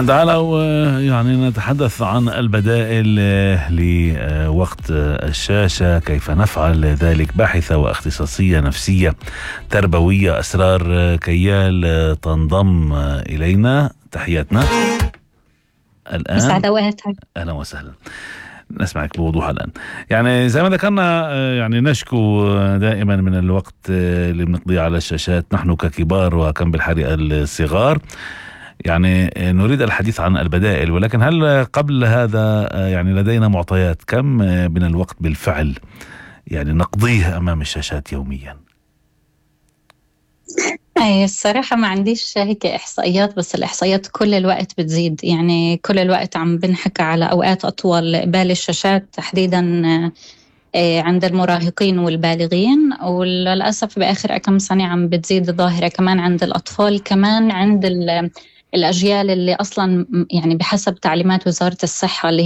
تعالوا يعني نتحدث عن البدائل لوقت الشاشة، كيف نفعل ذلك. باحثة واختصاصية نفسية تربوية أسرار كيال تنضم إلينا. تحياتنا الآن. مساعد وقتك. أهلا وسهلا، نسمعك بوضوح الآن. يعني زي ما ذكرنا، يعني نشكو دائما من الوقت اللي بنقضيه على الشاشات نحن ككبار وكم بالحريقة الصغار. يعني نريد الحديث عن البدائل، ولكن هل قبل هذا يعني لدينا معطيات كم من الوقت بالفعل يعني نقضيه أمام الشاشات يوميا؟ أي الصراحة ما عنديش هيك إحصائيات، بس الإحصائيات كل الوقت بتزيد. يعني كل الوقت عم بنحكى على أوقات أطول قبال الشاشات، تحديدا عند المراهقين والبالغين، وللأسف بآخر كم سنة عم بتزيد الظاهرة كمان عند الأطفال، كمان عند الأجيال اللي أصلا يعني بحسب تعليمات وزارة الصحة اللي